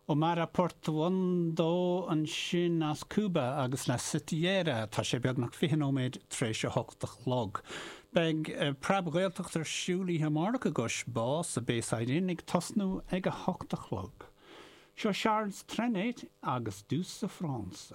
Omara Portuondo ansin as Cúba agus La Sitiera. Tá sé beagnach 20 nóiméad tar éis a hocht a chlog. Beidh Preab-Ghaeltacht ar siúl oíche amárach i gCois Bá sa Bayside Inn ag tosnú ag a hocht a chlog. Seo Charles Trenet agus Douce France.